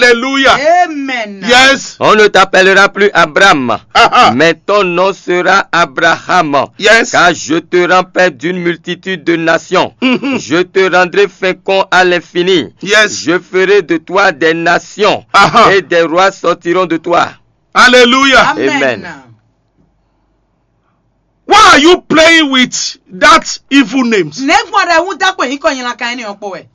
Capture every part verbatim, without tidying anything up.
Alléluia. Amen. Yes. On ne t'appellera plus Abraham, Ah, ah. Mais ton nom sera Abraham, Yes. Car je te rends père d'une multitude de nations. Mhm. Je te rendrai fécond à l'infini. Yes. Je ferai de toi des nations, Ah, ah. Et des rois sortiront de toi. Alléluia. Amen. Amen. Why are you playing with that evil names? Nɛgbɔn ɖe wú dá kpɛ yín kɔ nyi lankan ɛnɛ ɔkpɔ wɛ.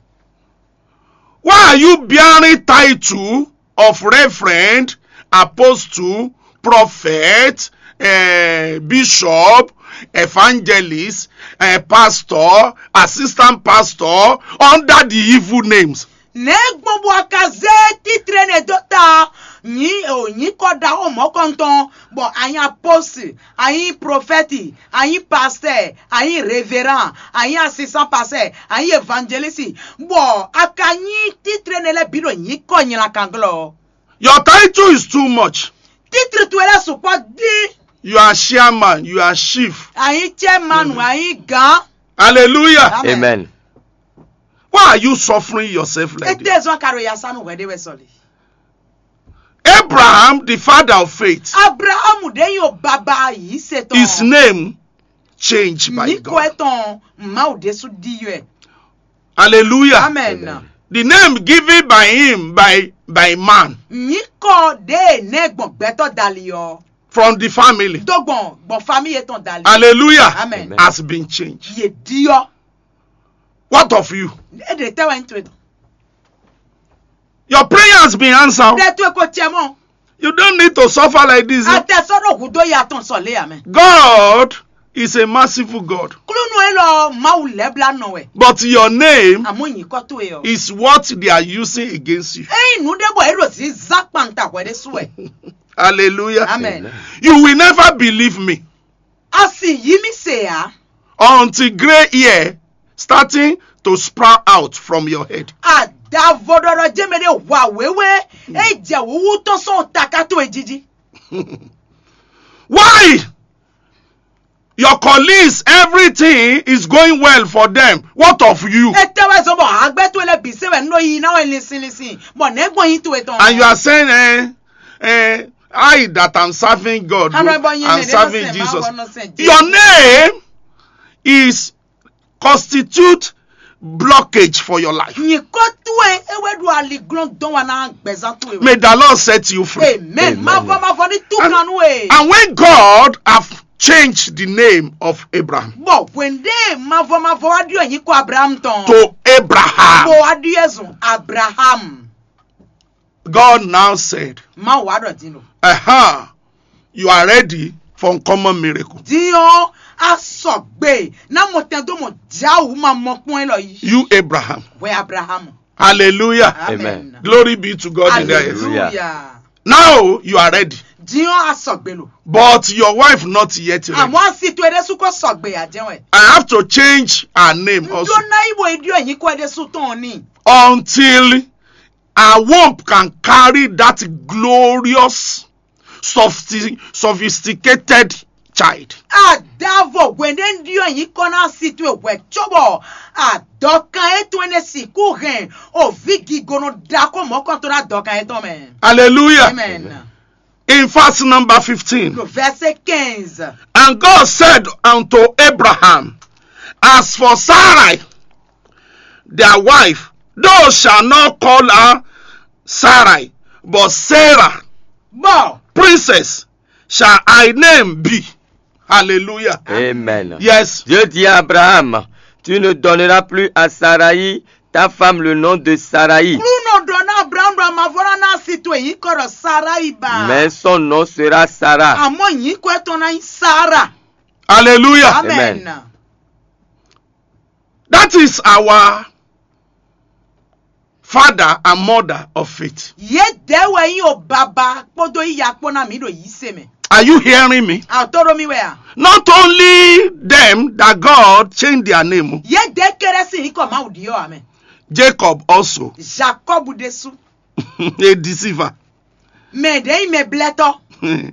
Why are you bearing title of reverend, apostle, prophet, eh, bishop, evangelist, eh, pastor, assistant pastor under the evil names? Nɛgbɔn bɔ a ka zé titre nɛ dó ta nyi o nyi kɔ ɖaxó mɔkɔntɔn bɔ anyi apostol, anyi prophète, anyi pasteur, anyi révérend, anyi assistant pasteur, anyi évangéliste, bɔ a ka nyi titre nɛ lɛ bi ɖo nyi kɔ nyla kan glɔ. Your title is too much. Titre towe lɛ sukpɔ di. You are chairman, you are chief. Anyi chairman, anyi gan. Hallelujah. Amen. Amen. Why are you suffering yourself like this? Ete zɔn ka ɖo yasanu hwɛ ɖe wɛ sɔli. Abraham, the father of faith, Abrahamu ɖe nyi o baba yi se tɔn. his name changed by Nyi kɔ God. Etɔn Mawu ɖesu di yɔ. Hallelujah. Amen. The name given by him by by man Nyi kɔ ɖe nɛ gbɔn gbɛtɔ dali ɔ. from the family. Dó gbɔn gbɔn famille etɔn dali. Hallelujah. Amen. Has been changed. Ye di ɔ. What of you? E ɖe tɛ wɛ n to etɔn. Your prayer has been answered. Ɖe to eko cɛ mɔ. You don't need to suffer like this. Oh. Atɛ sɔ ɖo hu do ya tɔn sɔ le amɛ. God is a merciful God. Klúnú e lɔ Mawu lɛ bla nɔ wɛ. But your name Àmọ́ yìí kọ́ tó e ɔ. is what they are using against you. Eyin nu ɖe bɔ e ɖo zi zan kpanta hwɛ ɖe su wɛ. Hallelujah. Amen. You will never believe me A sì yí mi se ya. Until gray hair starting to sprout out from your head. Adavo ɖɔɖɔ jɛmɛ ɖe hwa wéwé. E jɛ wúwú tɔn sɔn taka tó e jiji. Why? Your colleagues, everything is going well for them. What of you? E tɛ wɛ zɔn bɔ agbɛ to lɛ bi se wɛ nɔ yi na wɛ linsin linsin. Bɔ nɛ gbɔn yi to etɔn. And you are saying, eh, eh, I that am serving God, Hana bɔ yin I'm ne serving ne Jesus. Bɔ nɔ sɛn Jesu. Your name is constitute blockage for your life. Nyi kɔ to e e wɛ ɖo ali glɔn dɔn wa na gbɛzan to e. May the Lord set you free. Amen. Ma vɔ ma vɔ ni tu kan nu e. And when God have changed the name of Abraham Bɔ wende ma vɔ ma vɔ wa ɖiɔ nyi kɔ Abraham tɔn. To Abraham, Bɔ wa ɖiɔ zun Abraham. God now said, Ma wa ɖɔ din o. "Aha, you are ready for uncommon miracle." Din ɔ a sɔgbe na mɔ tɛn do mɔ jawu ma mɔ kpɔn e lɔ yi. You Abraham. Wɛ Abraham. Hallelujah. Amen. Glory be to God in the highest. Hallelujah. Now you are ready. Din ɔ a sɔgbe lo. But your wife not yet ready. Àmọ́ a si to e ɖe su kɔ sɔgbe a jẹ́ wɛ. I have to change her name also. Ndo na yi bo e ɖiɔ nyi kɔ e ɖe su tɔn ni. Until her womb can carry that glorious, sophisti- sophisticated child. Adavo hwende ɖiɔ nyi kɔ na si to e hwɛ cóbɔ adɔkan e to ne si ku hɛn o vi gigono ɖako mɔkɔntɔ na dɔkan e tɔn mɛ. Hallelujah. Amen. In verse number fifteen. Le verset quinze. And God said unto Abraham, "As for Sarai, their wife, thou shalt not call her Sarai, but Sarah, Bɔ princess, shall thy name be." Hallelujah. Amen. Yes. Dieu dit à Abraham, tu ne donneras plus à Sarai, ta femme, le nom de Sarai, Klunɔ ɖɔ na Abraham ɖɔ a ma vɔ na na si to e nyi kɔ ɖɔ Sarai ba. Mais son nom sera Sarah. Àmọ́ nyi kɔ etɔn na nyi Sara. Hallelujah. Amen. Amen. That is our father and mother of faith. Ye de wɛ yi o baba kpodo yi ya kpo na mi ɖo yi se mɛ. Are you hearing me? A to ɖo mi wɛ a? Not only them that God changed their name, Ye de kéré si yi kɔ Mawu ɖi ɔ amɛ. Jacob also, Jacob ɖesu. A deceiver, Mɛ ɖe yi mɛ blɛtɔ.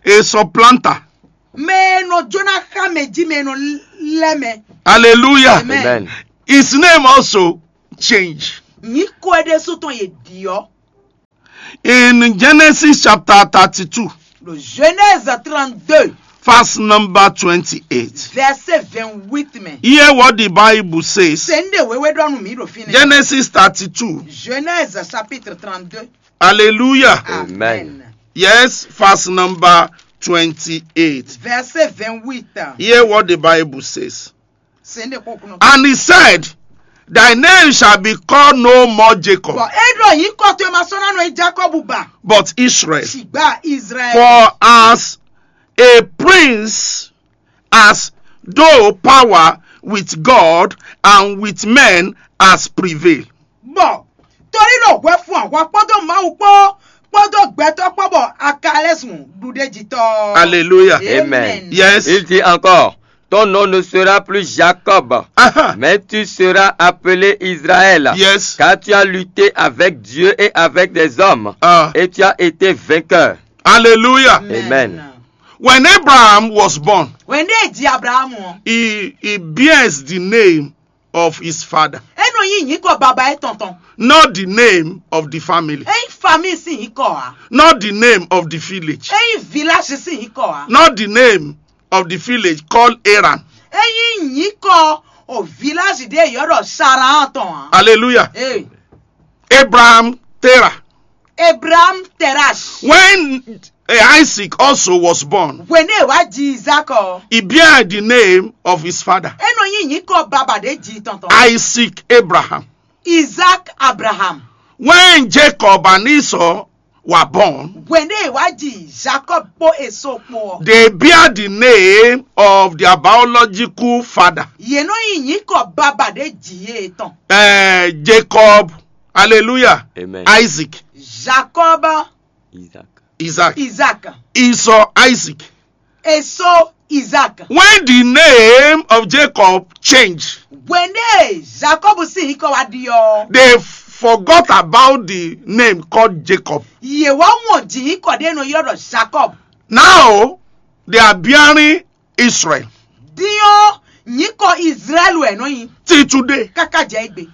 A supplanter. Mɛ nɔ jona xa mɛ ji mɛ nɔ lɛ mɛ. Hallelujah. Amen. Amen. His name also changed. Nyi kɔ e ɖesu tɔn ye ɖi ɔ. In Genesis chapter thirty-two, Ɖo Genèse trente-deux, verse number twenty-eight, verset vingt-huit mɛ. Hear what the Bible says. Sɛ nu ɖe wěwé ɖɔ nú mǐ ɖo fínɛ́. Genesis thirty-two. Genèse chapitre trente-deux. Hallelujah. Amen. Amen. Yes, verse number twenty-eight. Verset vingt-huit. Hear what the Bible says. Sɛ nu ɖe kpɔ́n kúnɔ. And he said, "Thy name shall be called no more Jacob." Bɔ é ɖɔ nyǐkɔ towe ma sɔ́ ná nɔ nyí Jacob ba. But Israel. Ṣùgbọ́n Israel. For as a prince has though power with God and with men has prevailed. Bɔ torí ɖo hwɛ fún ahwa kpódó Mawu kpó kpódó gbɛtɔ́ kpó bɔ a ka lɛ́ zun ɖuɖéjitɔ́. Hallelujah. Amen. Amen. Yes. Il dit encore, ton nom ne sera plus Jacob, mais tu seras appelé Israël, yes, car tu as lutté avec Dieu et avec des hommes, ah, et tu as été vainqueur. Hallelujah. Amen. Amen. When Abraham was born, Wɛn ɖé ji Abrahamu ɔ́, he, he bears the name of his father, é nɔ nyí nyǐkɔ baba étɔn tɔn. Not the name of the family, É nyí famille sín nyǐkɔ ǎ. Not the name of the village, É nyí village sín nyǐkọ ǎ. Not the name of the village called Haran. É nyí nyǐkɔ o village ɖé yɔ́ ɖɔ Saran tɔn ǎ. Hallelujah. Ee, Abraham Terah. Abraham Terash. When, eh, Isaac also was born, Hwenu e wá ji Isaac ɔ́, he bear the name of his father, é nɔ nyí nyǐkɔ baba ɖé ji tɔn tɔn. Isaac Abraham. Isaac Abraham. When Jacob and Esau were born, Hwenu e wá ji Jacob kpó Esau kpó ɔ́, they bear the name of their biological father. Yě nɔ nyí nyǐkɔ baba ɖé ji yě tɔn. Eh, Jacob, hallelujah. Amen. Isaac, Jacob, Isaac. Isaac. Isaac. Esau, Isaac. Esau, Isaac. When the name of Jacob changed, Hwenu e Jacob sín nyǐkɔ wá ɖi ɔ́, they forgot about the name called Jacob. Yě wá wɔn jǐ nyǐkɔ ɖé nɔ ylɔ́ ɖɔ Jacob. Now they are bearing Israel. Din ɔ́, nyǐkɔ Israel wɛ nɔ nyi. Till today. Káká jɛ égbé.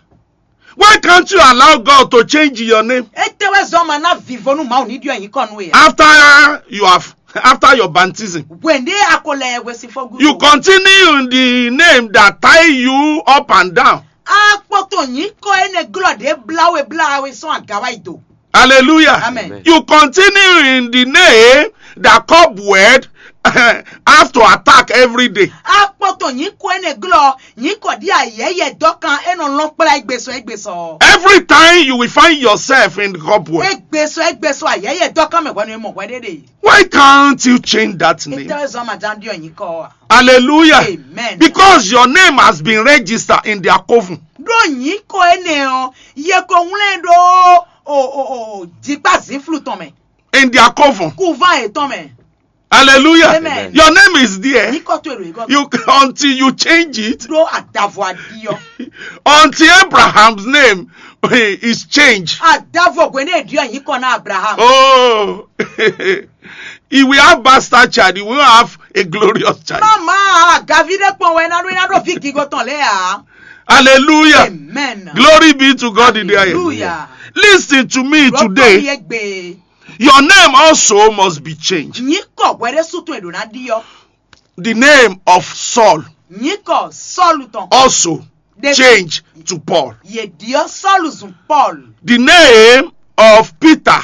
Why can't you allow God to change your name? Étɛ́ wɛ zɔ́n ma ná vǐvó nú Mawu ní ɖyɔ́ nyǐkɔ nú we ǎ? After you have, after your baptism, Hwenu e a ko lɛ hwesifɔ́ gúdo, you continue in the name that tie you up and down. A kpoto nyǐkɔ énɛ́ glɔ́ ɖě blá we blá we sɔ́n aga wá yi do. Hallelujah. Amen. Amen. You continue in the name that cobweb have to attack every day. A kpoto nyǐkɔ énɛ́ glɔ́ nyǐkɔ ɖí ayɛyɛ dɔ́kan é nɔ lɔn kplá égbé sɔ égbé sɔ. Every time you will find yourself in cobweb, Égbé sɔ égbé sɔ ayɛyɛ dɔ́kan mɛ hwɛnu e mɔ hwɛ ɖé ɖe. Why can't you change that name? Étɛ́ wɛ zɔ́n ma ján ɖyɔ́ nyǐkɔ ɔ́? Hallelujah. Amen. Because your name has been registered in their coven. Ɖó nyǐkɔ énɛ́ ɔ́, yě ko wlɛ́n ɖó o o o jikpá zǐnflu tɔn mɛ. In their coven. Kúván yětɔn mɛ. Hallelujah. Amen. Your name is there. Nyǐkɔ towe ɖo yě gɔ́. You, until you change it. Ɖó adavɔ aɖi ɔ́. Until Abraham's name is changed. Adavɔ hwenu e ɖyɔ́ nyǐkɔ ná Abraham. Oh. He will have bastard child. He will have a glorious child. Má má gaví ɖé kpɔn wɛ ná ɖó ná ɖó ví gígo tɔn lɛ́ɛ ǎ. Hallelujah. Amen. Glory be to God in the highest. Hallelujah. Listen to me today. Lọ́kàn mi égbè. Your name also must be changed. Nyǐkɔ hwɛ ɖé sútún è ɖǒ ná ɖi ɔ́. The name of Saul Nyǐkɔ Sɔ́lu tɔn. Also Ɖe- change to Paul. Yě ɖyɔ́ Sɔ́lu zun Paul. The name of Peter.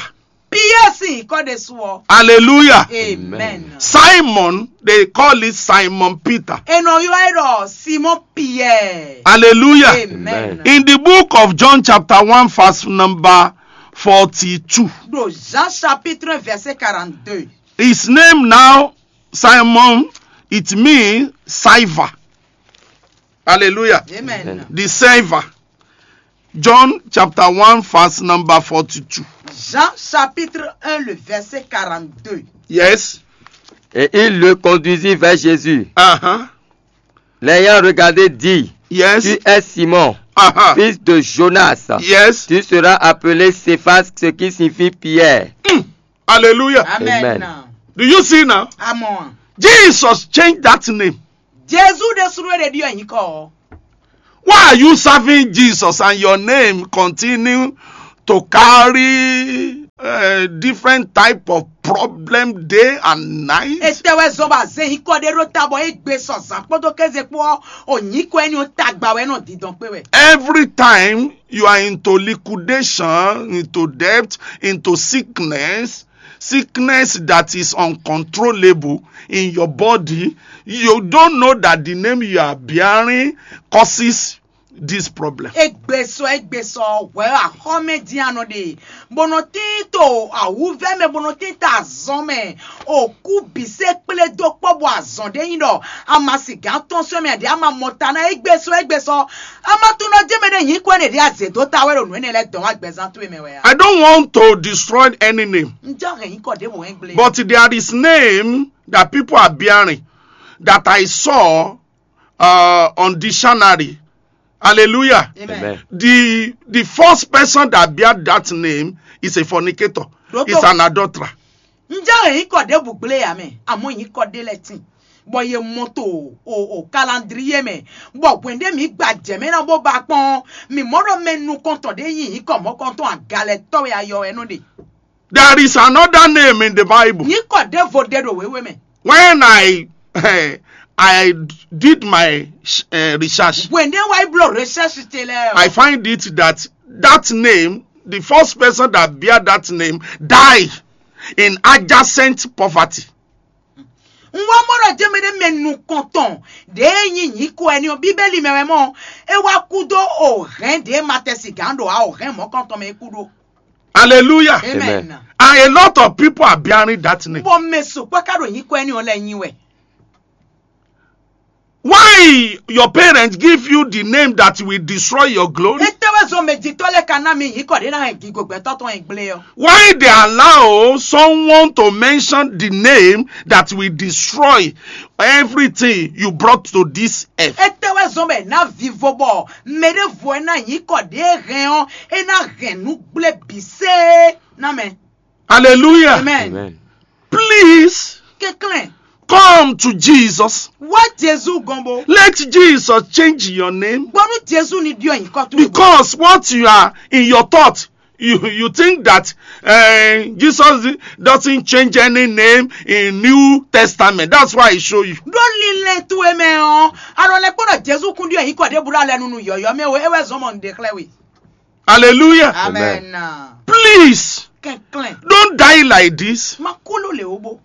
Piyɛ́ɛ sín nyǐkɔ ɖésú ɔ́. Hallelujah. Amen. Simon, they call it Simon Peter. È nɔ ylɔ́ ɛ ɖɔ Simɔn Piyɛ́ɛ. Hallelujah. Amen. Amen. In the book of John chapter one verse number forty-two. Ɖo Jean chapitre un verset quarante-deux. His name now, Simon, it means saver. Hallelujah. Amen. Amen. The saver. John chapter one verse number forty-two. Jean chapitre un le verset quarante-deux. Yes. Et il le conduisit vers Jésus. Uh-huh. L'ayant regardé, dit, yes, tu es Simon, uh-huh, fils de Jonas. Yes. Tu seras appelé Céphas, ce qui signifie Pierre. Mm. Hallelujah. Amen. Amen. Do you see now? Àmọ́. Jesus changed that name. Jésù ɖe sunu ɖe ɖi nyǐkɔ. Why are you serving Jesus and your name continue to carry, uh, uh, different type of problem day and night. Etɛ wɛ zɔn bɔ azɛ nyǐkɔ ɖé ɖó ta bɔ é gbe sɔ zǎn kpódó kéze kpó ɔ́, o nyǐkɔ ɛni ɔ́ tagba wɛ nɔ dindɔn kpé wɛ. Every time you are into liquidation, into debt, into sickness, sickness that is uncontrollable in your body, you don't know that the name you are bearing causes this problem. Egbesɔ egbesɔ hwɛ axɔmɛ dín anɔ ɖe, bó nɔ tín to awúvɛ́ mɛ, bó nɔ tín to azɔn mɛ, òkú bǐ se kplé dó kpɔ́ bɔ azɔn ɖé nyí ɖɔ ama sigǎn tɔn sɔ́ mɛ ɖě ama mɔ ta ná egbesɔ egbesɔ, ama tunɔ jɛ mɛ ɖé nyǐ kɔ ɛnɛ ɖě azě dó ta wɛ ɖo nǔ énɛ́ lɛ́ɛ dɔn wá gbɛzán towe mɛ wɛ a? I don't want to destroy any name, Un jɔ hɛn nyǐkɔ ɖěvo hɛn gblé. But there is name that people are bearing that I saw uh, on dictionary. Hallelujah. Amen. Amen. The the first person that bear that name is a fornicator. Is an adulterer. Njẹ́ èyí kọ̀ dé bùgbélé yà mẹ́, àmọ́ èyí kọ̀ dé lẹ́tìn. Bɔ ye mɔ to o o calendrier mɛ, bɔ hwɛn ɖé mi gba jɛ mɛ na bó ba kpɔn, mi mɔ ɖɔ mɛ nukɔntɔn ɖé yin yi kɔ mɔkɔntɔn agalɛ tɔwɛ ayɔ wɛ nɔ ɖe. There is another name in the Bible. Nyǐkɔ ɖěvo ɖe ɖo wěwe mɛ. When I I did my uh, research, Hwɛn ɖé wá yi bló recherche ce lɛ. I find it that that name, the first person that bear that name, die in adjacent poverty. N wá mɔ ɖɔ jɛmɛ ɖé mɛ nukɔntɔn ɖě nyí nyǐkɔ ɛni ɔ́ bíbélì mɛ wɛ mɔ, é wá kú dó o hɛn ɖě ma tɛ sigǎn ɖo a o hɛn mɔ̌kɔntɔn mɛ é kú ɖó. Hallelujah. Amen. Amen. And a lot of people are bearing that name. Bɔ mɛ sukpɔ ká ɖo nyǐkɔ ɛni ɔ́ lɛ nyi wɛ. Why your parents give you the name that will destroy your glory? Etɛwɛ zɔn mɛ jitɔ lɛ ka ná mi nyǐkɔ ɖé ná hɛn gigo gbɛtɔ tɔn yẹn gblé ɔ. Why they allow someone to mention the name that will destroy everything you brought to this earth? Etɛwɛ zɔn mɛ ná vivo bɔ mɛ ɖé vo ɛ ná nyǐkɔ ɖé hɛn ɔ́, é ná hɛn nǔ gblé bǐ sé ná mɛ. Hallelujah. Amen. Amen. Please, Kɛnklɛn, come to Jesus. Wá Jezu gɔn bo. Let Jesus change your name. Gbɔnu Jezu ni ɖiɔ nyǐkɔ towe. Because what you are in your thought, you you think that uh, Jesus doesn't change any name in New Testament. That's why I show you. Ɖó lílɛ́ towe mɛ ɔ́, alɔ lɛ kpɔ́n ɖɔ Jezu kún ɖiɔ nyǐkɔ ɖěbǔ ɖo alɛ nunu yɔ̌yɔ́ mɛ o, é wɛ zɔn mɔ nǔɖé xlɛ́ we. Hallelujah. Amen. Please, Kɛnklɛn, don't die like this. Ma kú ló lè ó bó.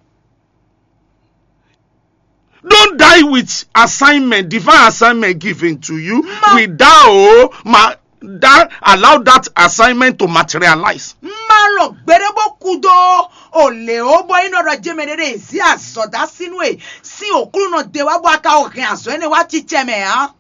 Don't die with assignment, divine assignment given to you. Ma- Without ma that allow that assignment to materialize. Má lɔ gbéɖé bó kú dó o lě ó bɔ nyí nɔ ɖɔ jɛmɛ ɖé ɖé zí azɔ̌ dó asínú e sín òklúnɔ de wá bɔ a ka o hɛn azɔ̌ énɛ́ wá cícɛ mɛ ǎ.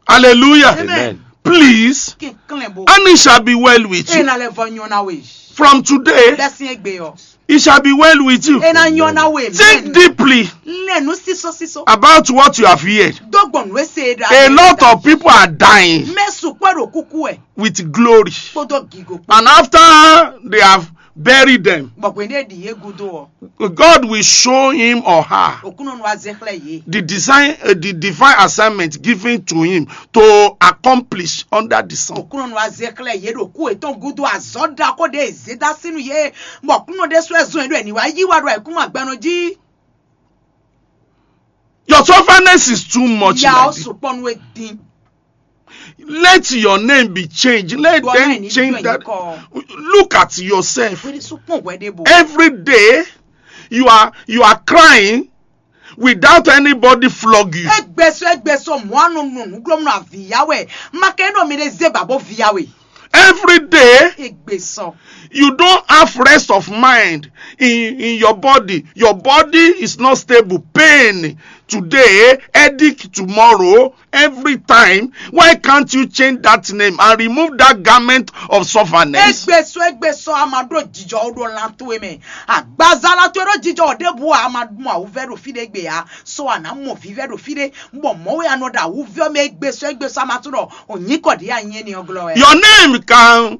Hallelujah. Amen. Please, Kɛnklɛn bo. And it shall be well with you. Ena lɛ vɔ nyɔ na we. From today, Bɛ sin egbe ɔ. It shall be well with you. Ena nyɔ na we. Think deeply. Lɛ nu siso siso. About what you have heard. Dɔgbɔnu ese da. A lot of people are dying. Mɛ sukpɔ ɖo kuku ɛ. With glory. Kpɔdɔ gigo. And after they have buried them, Bɔkwe ne ɖi ye gudo ɔ. God will show him or her Okunɔ nu azɛ xlɛ ye. The design, uh, the divine assignment given to him to accomplish under the sun. Okunɔ nu azɛ xlɛ ye ɖo ku etɔn gudo azɔ da ko de eze da sinu ye. Bɔkunɔ de sɔ ezɔn ye ɖo eni wa yi wa ɖo ekuma gbɛnɔ ji. Your stubbornness is too much. Ya like o this. Sukpɔ nu e din. Let your name be changed. Let them change that. Look at yourself. Every day you are you are crying without anybody flog you. Egbeso egbeso mɔanu nunu glomna viyawe. Makeno mi de zeba bo viyawe. Every day, Egbeso. You don't have rest of mind in, in your body. Your body is not stable. Pain today, headache tomorrow, every time. Why can't you change that name and remove that garment of sufferness? Egbeso egbeso amado jijɔ odo lanto eme. Agbaza lanto edo jijɔ odebu amadu ma uvɛ do fi de gbe ya. So ana mo vivɛ do fi de. Bɔ mɔwe anɔ da uvɛ me egbeso egbeso amatu do. Onyi kɔ di anye ni oglɔ ɛ. Your name can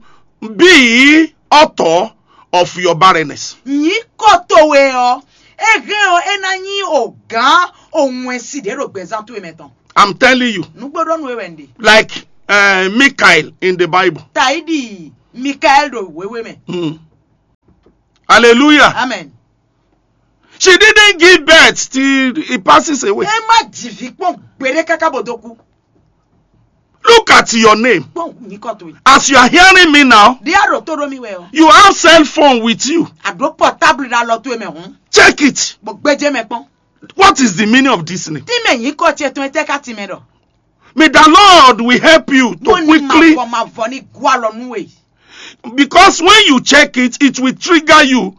be author of your barrenness. Nyǐkɔ towe ɔ́, é hɛn ɔ́ é ná nyí ogǎn òwɛnsi ɖě ɖo gbɛzán towe mɛ tɔn. I'm telling you. Nǔgbóɖónú é wɛ un ɖe. Like uh, Michael in the Bible. Taidi Mikael ɖo wěwé mɛ. Mm. Hallelujah. Amen. She didn't give birth till he passes away. Ẹ má jì vǐ kpɔn gbeɖé káká bó dó kú. Look at your name. Kpɔn nyǐkɔ towe. As you are hearing me now, Ɖé a ɖo tó ɖó mi wɛ ɔ. You have cell phone with you. A ɖó portable ɖo alɔ towe mɛ hǔn. Check it. Bó gbéjé mɛ kpɔn. What is the meaning of this name? Tí mɛ nyǐkɔ ce tɔn tɛ ká ti mɛ ɖɔ. May the Lord will help you to Bó ní ma quickly, vɔ ma vɔ ní gú alɔ nú we. Because when you check it, it will trigger you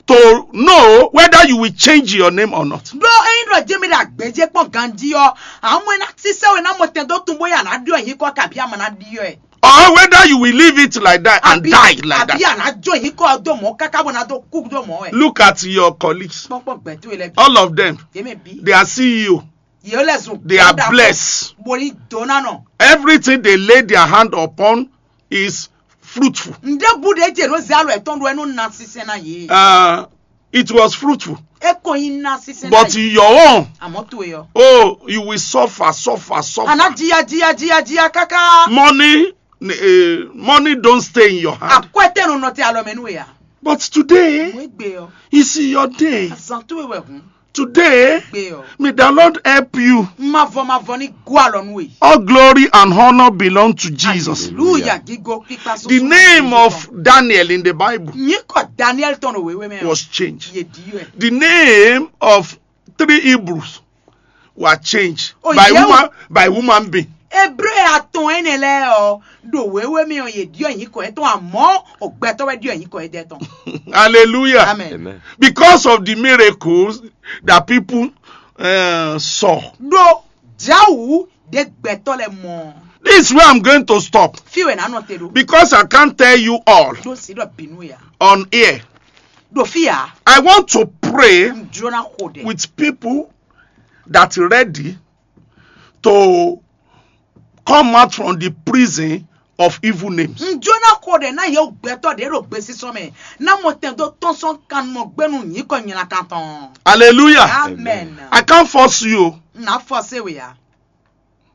to know whether you will change your name or not. Ɖó ényí ɖɔ jɛ́mi ɖo agbějé kpɔn ganjí ɔ́, àmọ́ ná sísẹ́ we ná mɔ tɛn dó tún bóyá ná ɖyɔ nyǐkɔ kabí àmọ́ ná ɖyɔ ɛ. Or whether you will leave it like that and die like Àbí that. Àná jó nyǐkɔ dó mɔ káká bó ná dó kú dó mɔ ɛ. Look at your colleagues. Kpɔkpɔ gbɛtú ilẹ̀ bí. All of them, Yémɛ bí. They are C E O. Yé lɛ zun. They are blessed. Boli dona nɔ. Everything they lay their hand upon is fruitful. Ǹdé bu ɖe jɛ ló zé alɔ ɛtɔn ɖo ɛnu na sísɛ na yé. Uh, it was fruitful. E kò yin na sísɛ na But yé. Your own, Àmọ́ tó yɔ. Oh, you will suffer, suffer, suffer. Àná jìyà jìyà jìyà jìyà káká. Money, uh, money don't stay in your hand. Àkúẹ́tẹ̀nu nọ ti alɔ mɛ nú ya. But today, Mo gbé ọ. It's your day. Àzàn tó wẹ̀ hùn. Today, Gbé ọ. May the Lord help you. Ma vɔ ma vɔ ní gú alɔ nú e. All glory and honor belong to Jesus. Hallelujah. Gígo pípa sọ. The name of Daniel in the Bible Nyíkɔ Daniel tɔn wéwé mɛ. Was changed. Yé di yɔ ɛ. The name of three Hebrews were changed. Oh, by yeah. Woman, by woman being. Hébré atɔn ɛnɛ lɛ ɔ ɖo wéwé mɛ ɔ yé diɔ nyíkɔ yɛ tɔn àmọ́ ògbɛtɔ wɛ diɔ nyíkɔ yɛ dɛ tɔn. Hallelujah. Amen. Amen. Because of the miracles that people uh, saw. Ɖo jawu ɖe gbɛtɔ lɛ mɔ. This is where I'm going to stop. Fi wɛ nanɔ te ɖo. Because I can't tell you all. Ɖo si ɖɔ binu ya. On air. Ɖo fi ya. I want to pray Jona xo ɖe. With people that ready to come out from the prison of evil names. N Jona xo ɖe ná yewu gbɛtɔ ɖě ɖo gbesisɔ mɛ ná mɔ tɛn dó tɔ́n sɔn kannumɔ gbɛnu nyǐkɔ nylakan tɔn. Hallelujah. Amen. I can't force you. N ná fɔse we ya.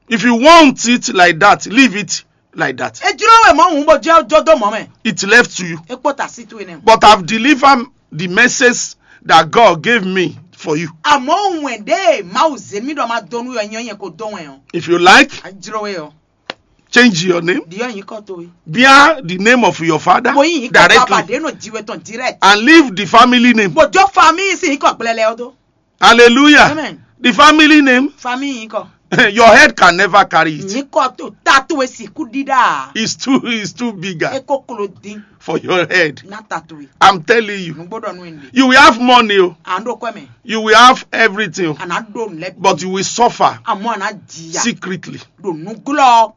If you want it like that, leave it like that. E jló wɛ mɔ hùn bó jẹ́ jó dó mọ́ mɛ. It left to you. E kpó ta sí tó enɛ. But I've delivered the message that God gave me for you. Àmọ́ òun ẹ̀ dé Mawu zé mi ɖɔ ma dó nú yɔ nyɛ yẹn kó dó wɛn o. If you like, a jló wɛ o. Change your name. Di yɔ yín kɔ tó yi. Bear the name of your father. Mo yín yín kɔ bàbá directly. Dé nò jí wɛ tɔn direct. And leave the family name. Bòjó famille sí yín kɔ gblɛlɛ o tó. Hallelujah. Amen. The family name. Famille yín kɔ. Your head can never carry it. Yín kɔ tó tatu esi kú dídá. It's too, it's too bigger. E kókòló dín. For your head. Ná tatu yi. I'm telling you. Nùgbọ́dọ̀ nù ẹ̀ ń di. You will have money o. À ń dókòwé mi. You will have everything o. Àná dó nlẹ. But you will suffer. Àmọ́ àná jìyà. Secretly. Dònú gúlọ̀.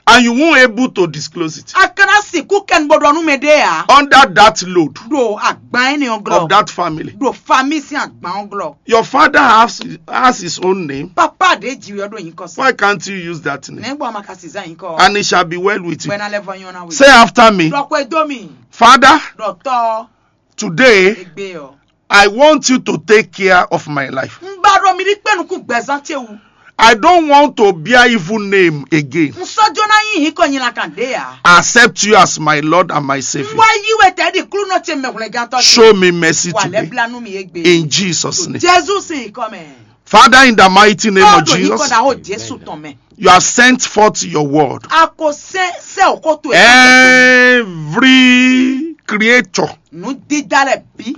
And you won't able to disclose it. A kana sìnkú kẹ́ni gbọdọ̀ nú mi dé ya. Under that load. Do agban ẹni ọgọlọ. Of that family. Do famille sin agban ọgọlọ. Your father has, has his own name. Papa de jiwe ọdún yìí kọ sí. Why can't you use that name? Nẹ́gbọ́n ma ka sì zá yìí kọ. And it shall be well with you. Bẹ́ẹ̀ náà lẹ́fọ̀ yan náà wí. Say after me. Dọ̀pọ̀ edo mi. Father. Dọ̀tọ̀. Today. Egbe ọ. I want you to take care of my life. N ba ɖo mi ɖi kpɛnukun gbɛzán ce wu. I don't want to bear evil name again. N sɔjɔ na yin hin kɔ nyina kan de ya. I accept you as my Lord and my Savior. N wá yí wɛ tɛ di klunɔ ce mɛ hwlɛngantɔ ce. Show me mercy today. Wà lɛ bla nu mi egbe. In Jesus' name. Jesu sin kɔ mɛ. Father, in the mighty name of Jesus. Tɔn do yin kɔ da o Jesu tɔn mɛ. You have sent forth your word. A ko sɛ sɛ o ko to e. Every creature. Nu dida lɛ bi.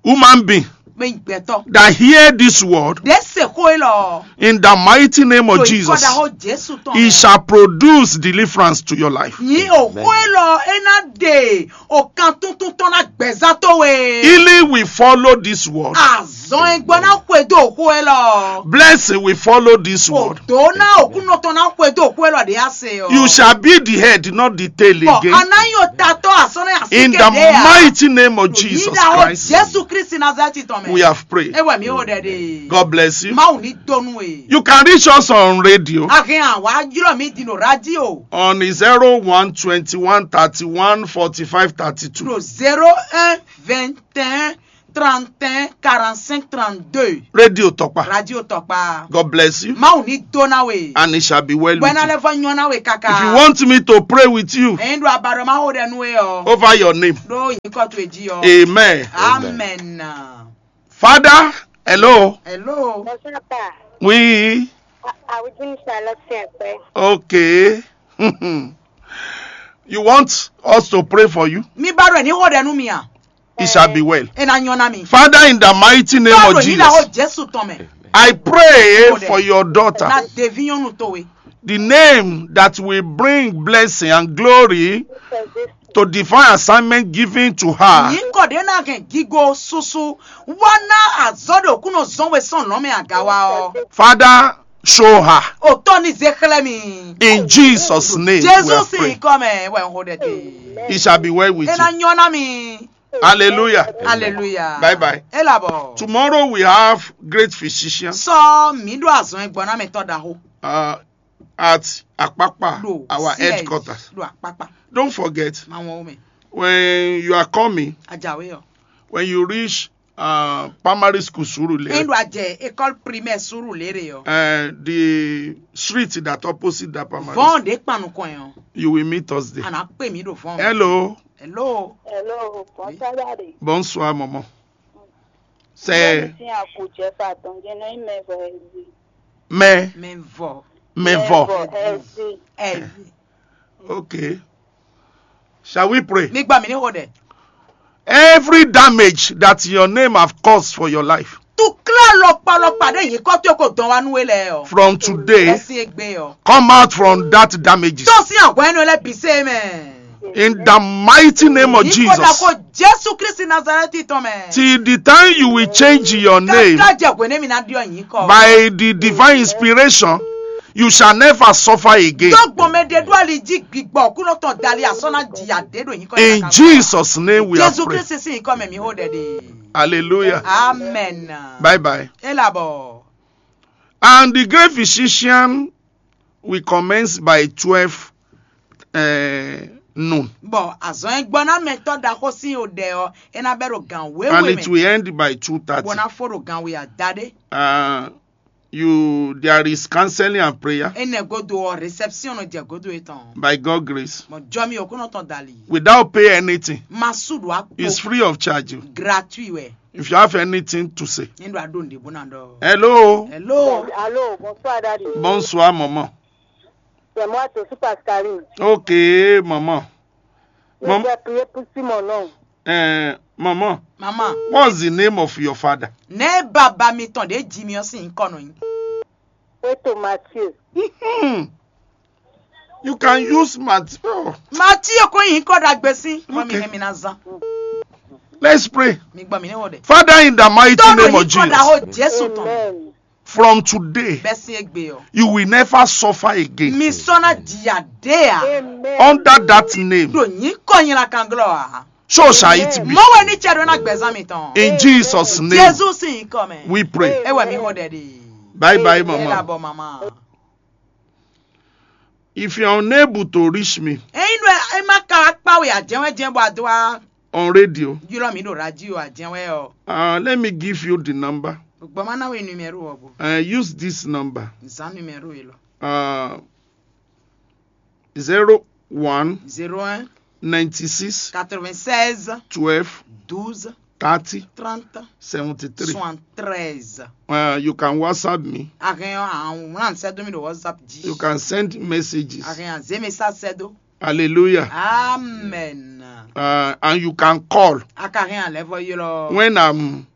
Human being. Mɛ gbɛtɔ. That hear this word. De se ko e lɔ. In the mighty name of Jesus. To ikɔ da ho Jesu tɔn. He shall produce deliverance to your life. Nyi o ko e lɔ e na de o kan tuntun tɔn na gbɛza to we. Healing will follow this word. Azɔn egbɔ na xwe do xwe lɔ. Blessing will follow this word. Odo na okunɔ tɔn na xwe do xwe lɔ de ase o. You shall be the head, not the tail again. Bɔn ana yi o tatɔ asɔnɛ asi kede ya. In the mighty name of Jesus Christ. Jesu Kristi Nazareti tɔn mɛ. We have prayed. Ewa mi o dɛ de. God bless you. Mawu ni donu e. You can reach us on radio. Ahin awa jùlọ mi di no radio. On zero one twenty one thirty one forty five thirty two. No zero un vingt et un Trente et un, quarante-cinq, trente-deux. Radio Tɔkpa. Radio Tɔkpa. God bless you. Mawu ní dó ná we. And it shall be well with you. Bɔ ná lɛ́ vɔ nyɔ́ ná we káká. If you want me to pray with you, Èyí ɖo abaɖɔ má xo ɖɛ nú we ɔ. Over your name. Ɖó nyǐkɔ towe jí ɔ. Amen. Amen. Father, hello. Hello. Bonsoir, pa. Oui. Awudini Charlotte Sɛnkpɛ. Okay. You want us to pray for you? Mi ba ɖo ɛ ní xo ɖɛ nú mi a? It shall be well. E na nyɔ na mi. Father, in the mighty name of Jesus, Jesu tɔn mɛ. I pray for your daughter. Na devi nyɔnu towe. The name that will bring blessing and glory to divine assignment given to her. Nyǐkɔ ɖě ná hɛn gigo susu wá ná azɔ̌ ɖo kúnɔ zɔn we sɔn lɔn mɛ agawa ɔ. Father, show her. Òtọ́ ní zé xlẹ́ mi. In Jesus' name, we Jésù are sì praying. Kọ́ mɛ wẹ̀ ń xo ɖɛ dé. It shall be well with you. E na nyɔ na mi. Hallelujah. Hallelujah. Bye bye. E labɔ. Tomorrow we have great physician. Sɔ mi ɖo azɔn gbɔn na mi tɔ da ho. Uh, at Akpakpa, our headquarters. Ɖo Akpakpa. Don't forget. Ma wɔn o mɛ. When you are coming, Ajawe ɔ. When you reach uh, primary school Surulere. Endo ajɛ école primaire Surulere ɔ. Uh, the street that opposite that primary school. Vɔn de kpanu kɔn yɔ. You will meet us there. Ana pe mi do vɔn. Hello. Hello. Hello. Bonsoir, daddy. Bonsoir, maman. C'est. Sin akujɛ fa tɔn jɛ nɔ ime vɔ ezi. Mais. Mais vɔ. Mais vɔ. Ezi. Ezi. Okay. Shall we pray? Mi gbà mí ní xo dɛ. Every damage that your name have caused for your life. Tukla lɔkpalɔkpa ɖe yìí kɔ tó kò dɔn wa nú we lɛ ɔ. From today, come out from that damages. Tó sí àgọ́ ẹnu lẹ bí sẹ́ mẹ́. In the mighty name of Jesus. Yìí kò dà kó Jésù Kristi Nazareti tɔn mɛ. Till the time you will change your name. Tata jẹ gbe ne mi na diɔ yìí kọ. By the divine inspiration, you shall never suffer again. Tó gbɔn mɛ ɖe ɖo ali jí gbigbɔ kúnɔ tɔn dali asɔ na jìyà ɖe ɖo yìí kɔ. In Jesus' name we are praying. Jésù Kristi sí yìí kɔ mɛ mi hó ɖɛ ɖe. Hallelujah. Amen. Bye bye. E labɔ. And the great physician will commence by twelve uh, noon. Bɔ azɔn e gbɔ na mɛ tɔ da xó sí o ɖɛ ɔ, e na bɛ ɖo gan wéwe mɛ. And it will end by two thirty. Bɔ na fo ɖo gan wé adaɖe. Uh, you there is counseling and prayer. Enɛ godo ɔ, réception nɔ jɛ godo etɔn. By God grace. Mɔ jɔmi o kúnɔ tɔn dali. Without pay anything. Ma su ɖo akpo. It's free of charge. Gratuit wɛ. If you have anything to say. Ní ɖo aɖo ǹdè bó na ɖɔ. Hello. Hello. Allô, bonsoir, daddy. Bonsoir, maman. C'est moi, Tosu Pascaline. Ok, maman. Je vais prier pour Simon, non. Eh, maman. Maman. What's the name of your father? Ne baba mi tɔn de ji mi ɔ sin kɔ nɔ yin. Eto Mathieu. Hmm. You can use Matthew. Matthew ko yin kɔ dagbe si. Mo mi Okay. Hemi na zan. Let's pray. Mi gbɔ mi ne wo de. Father, in the mighty name of Jesus, Jésù tɔn. Amen. From today, Bɛsi egbe o. You will never suffer again. Mi sɔ na jìyà dé a. Amen. Under that name, Do yin kɔ yin la kan glɔ a. So shall it be. Mo we ni cɛ do na gbɛzan mi tɔn. In Jesus' name, Jésù si yin kɔ mɛ. We pray. E wɛ mi ho dɛ de. Bye bye, mama. E la bɔ mama. If you are unable to reach me, Eyin ɖɔ e ma ka wá kpa we ajɛwɛ jɛ bɔ a do wá on radio, ylɔ mi ɖo radio ajɛwɛ ɔ. Uh, let me give you the number. Gbɔ ma na we numéro ɔ bo. Uh, use this number. Zan numéro yi lɔ. Uh, zero one, zéro un, ninety six, quatre-vingt-seize, twelve, douze, thirty, trente, seventy three, soixante-treize. Uh, you can WhatsApp me. Ahɛn ɔ, àwọn wúlò sẹ́dó mi ɖo WhatsApp jí. You can send messages. Ahɛn àzé message sẹ́dó. Hallelujah. Amen. Uh, and you can call. A ka hɛn alɛ vɔ ylɔ. When I'm,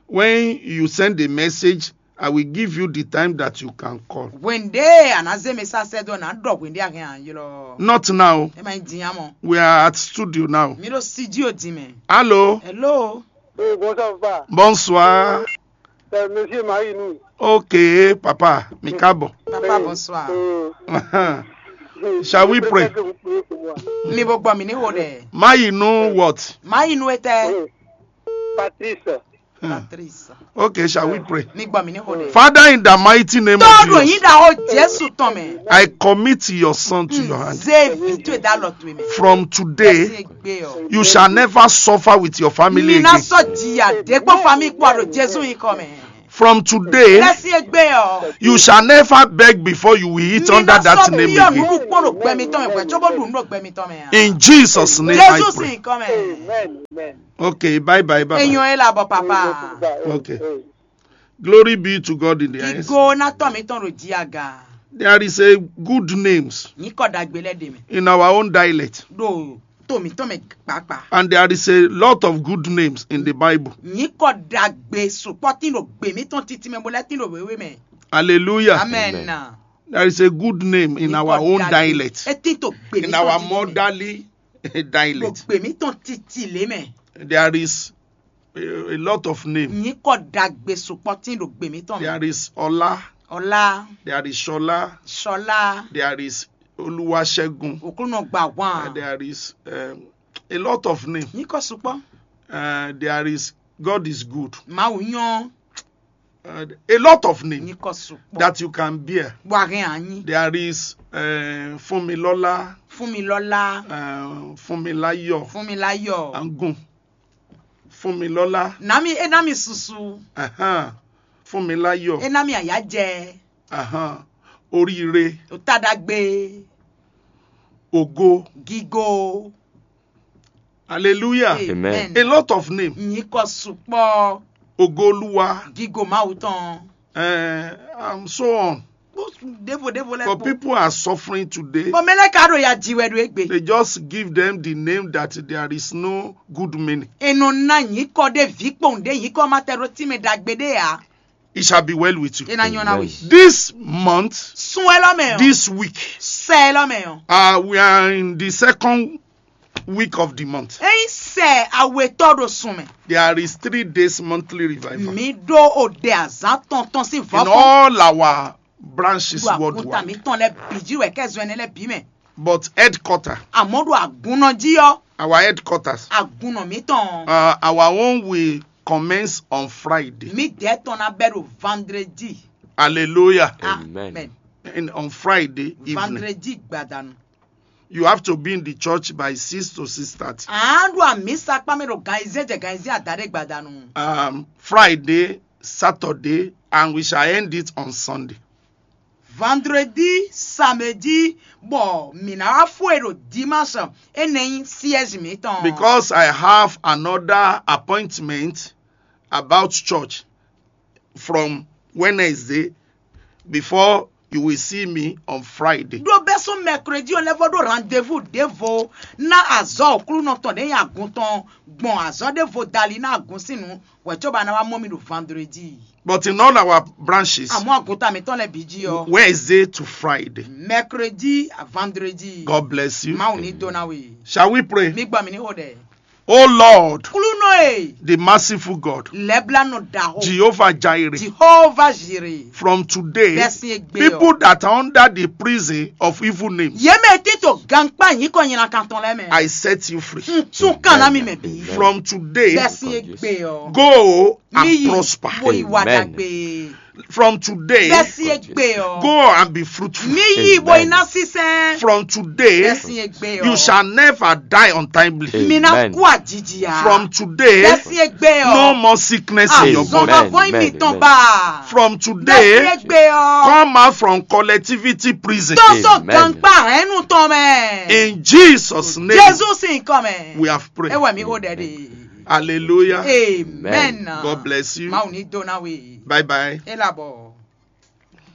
when you send a message, I will give you the time that you can call. Wende a na zé message sɛdó na ɖɔ wende a hɛn a ylɔ. Not now. E ma nyi dinya mɔ. We are at studio now. Mi ɖo studio di mɛ. Hello. Hello. Oui, bonsoir, papa. Bonsoir. Euh, monsieur Maïnou. Ok, papa, mi káàbọ̀. Papa, bonsoir. Euh, Shall we pray? Mi bo gbɔ mi ni wo dɛ. Maïnou what? Maïnou etɛ. Oui. Patrice. Patrice. Okay, shall we pray? Mi gbɔ mi ní xo ɖe. Father, in the mighty name of Jesus, yín ɖaxó Jésù tɔn mɛ. I commit your son to your hand. Zé vi towe dá lɔ towe mɛ. From today, you shall never suffer with your family again. Mi ná sɔ jìyà dé kpó famille kpó ɖo Jésù yín kɔ mɛ. From today, you shall never beg before you will eat under that name again. Mi ná sɔ bí yɔnu kpó ɖo gbɛ mi tɔn mɛ hwɛ cóbó ɖu nú ɖo gbɛ mi tɔn mɛ. In Jesus' name I pray. Jésù sín kɔ mɛ. Okay, bye bye, bye bye. Èèyàn ẹ làbọ̀ papa. Okay. Glory be to God in the highest. Ìgò ná tọ́ mi tán ɖo jí aga. There is a good names. Yín kọ́ dagbe lẹ́ dè mí. In our own dialect. Ɖo tó mi tán mɛ pàápàá. And there is a lot of good names in the Bible. Yín kọ́ dagbe sùpọ́ tí ɖo gbè mí tán títí mɛ bó lẹ́ tí ɖo wéwé mɛ. Hallelujah. Amen. There is a good name in our own dialect. Etí tó gbè mí tán títí mɛ. In our motherly dialect. Gbè mí tán títí lé mɛ. There is a, a lot of name. Yín kọ́ dagbe sùpọ́ tí ɖo gbè mí tán mɛ. There is Ọlá. Ọlá. There is Ṣọlá. Ṣọlá. There is Olúwaṣẹ́gun. Òkúnnù gbà wọ́n. And there is um, a lot of name. Yín kọ́ sùpọ́. Uh, there is God is good. Màá wù yán. Uh, a lot of name. Yín kọ́ sùpọ́. That you can bear. Wà hẹ́n ànyí. There is uh, Fúnmilọ́lá. Fúnmilọ́lá. Uh, Fúnmiláyọ̀. Fúnmiláyọ̀. Angun. Fúnmilọ́lá. Nami e nami susu. Ahan. Fúnmiláyọ̀. E nami àyájẹ. Ahan. Oríire. Òtádàgbé. Ògo. Gígó. Hallelujah. Amen. A lot of name. Yín kọ́ sùpọ́. Ògo Olúwa. Gígó Mawu tán. Uh, and so on. Dévo dévo lɛ. But people are suffering today. Bɔn mɛ lɛ ka ɖo ya ji wɛ ɖo egbe. They just give them the name that there is no good meaning. Enɔ na yín kɔ ɖe vi kpɔn ɖe yín kɔ ma tɛ ɖo tí mɛ ɖagbe ɖe ya. It shall be well with you. Ena nyɔ na we. This month, sun ɛ lɔ mɛ o. This week, sɛ ɛ lɔ mɛ o. Uh, we are in the second week of the month. Eyin sɛ awetɔ ɖo sun mɛ. There is three days monthly revival. Mi ɖo o ɖe azan tɔntɔn si vɔ. In all our branches worldwide. Ɖo àkúntà mi tɔn lɛ bì jí wɛ kɛ zɔn ɛnɛ lɛ bì mɛ. But headquarter. Àmọ́ ɖo àgúnná jí ɔ. Our headquarters. Àgúnná mi tɔn. Uh, our own will commence on Friday. Mi dɛ tɔn na bɛ ɖo vendredi. Hallelujah. Amen. And on Friday evening. Vendredi gbadanu. You have to be in the church by six to six thirty. À ń lo àmì sapá mi ɖo gan iṣẹ́ jẹ gan iṣẹ́ àdáde gbadanu. Um, Friday, Saturday, and we shall end it on Sunday. Vendredi, samedi, bɔ mi ná wá fún èrò dimanche, é nɛ́ nyí siège mi tɔn. Because I have another appointment about church from Wednesday before you will see me on Friday. Ɖó bɛ́ sún mercredi ɔ́ lɛ́ vɔ ɖó rendez-vous ɖěvo ná azɔ̌ Aklúnɔ tɔn ɖě nyi agun tɔn gbɔn azɔ̌ ɖěvo dali ná agun sín nǔ hwɛ̌ cóbɔ a ná wá mɔ mì ɖo vendredi. But in all our branches, àmọ́ àgùntàn mi tɔn lɛ bǐ jí ɔ. Wednesday to Friday. Mercredi à vendredi. God bless you. Mawu ní dó ná we. Shall we pray? Mi gbọ́ mi ní xo ɖɛ. Oh Lord, Klúnɔ e, the merciful God, lɛ́blanɔ ɖaxó, Jehovah Jireh, Jehovah Jireh, from today, bɛ́ sín égbé ɔ, people that are under the prison of evil names, yě mɛ tí to gankpá nyǐkɔ nylankan tɔn lɛ́ɛ mɛ. I set you free. Un tún kàn ná mi mɛ bí. From today, bɛ́ sín égbé ɔ, go and prosper. Mì yi, mo yi wà dàgbé. From today, bɛ́ sín égbé ɔ, go and be fruitful. Mì yi, mo yi ná sísɛn. From today, bɛ́ sín égbé ɔ, you shall never die untimely. Mi ná kú àjijì á. From today, bɛ́ sín égbé ɔ, no more sickness in your body. Azɔn ma vɔn mi tɔn ba. From today, bɛ́ sín égbé ɔ, come out from collectivity prison. Tó sọ gankpá hɛnnu tɔn mɛ. In Jesus' name, Jésù sín kɔ mɛ, we have prayed. Ewɛ mi xo ɖɛ ɖe. Hallelujah. Amen. God bless you. Mawu ní dó ná we. Bye bye. É labɔ.